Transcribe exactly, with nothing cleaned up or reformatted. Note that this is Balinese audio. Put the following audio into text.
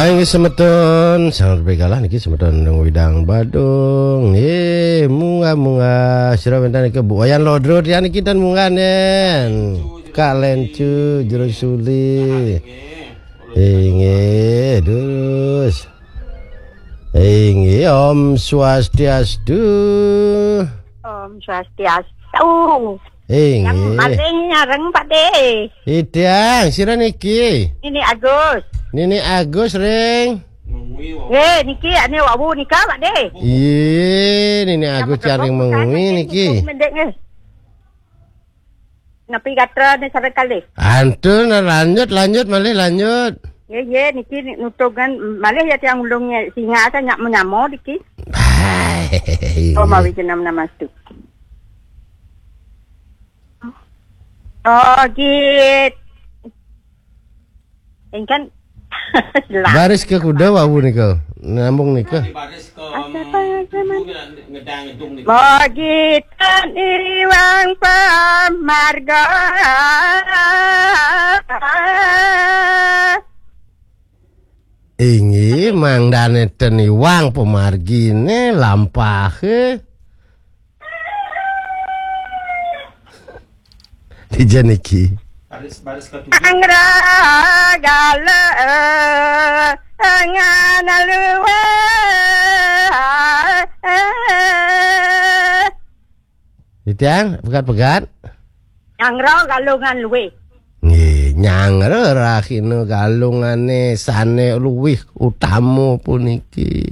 Nggih semeton, sanget begalah niki semeton Nang Widang Badung. Nggih, munggah-munggah sira wénten niki Bu Wayan Lodro tiyang niki ten munggah nen. Kak Lencu Jero Suli. Inggih, terus. Inggih, Om Swastiastu. Om Swastiastu. Inggih. Maling nyareng Pak De. Idang, sira niki? Nini Agus. Nini Agus ring. Nggih, niki ane wawu nika Pak De. Iya, Nini Agus jaring mengwi niki. Mendek nggih. Napi gatra ne sareng kalih? Antun, lanjut, lanjut, malih lanjut. Nggih, nggih, niki nutugan malih ya tiang ulung singa asa nyak menyamo niki. Hai. Oh, mawi jenam namastu. Oh, git. Ingkan lah. Baris ke kuda wawu nika. Nyambung nika. Mogitan iwang pamarga. Inggih, mangdane ten iwang pamargine lampahe. Dija niki. Anggra gala ngan luwe. Titiang, pegat-pegat. Nyangro galungan luwih. Nggih, nyangro rahina galungane sane luwih utama puniki.